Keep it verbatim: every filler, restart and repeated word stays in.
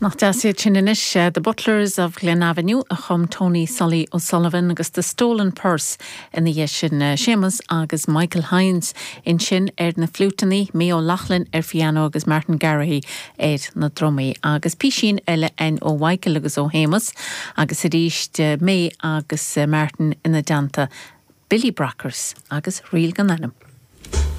Nach deas iad sin anois uh, The Butlers of Glen Avenue a chum Tony Sully O'Sullivan agus The Stolen Purse ina dhiaidh sin uh, Seamus agus Michael Hines ansin ar na fliúiteanna May O'Loughlin ar piano agus Martin Garrahy ar na drumaí agus písín eile an ó Michael agus ó Shéamus agus arís uh, May agus uh, Martin ina dteannta Billy Brockers agus Ríl gan ainm.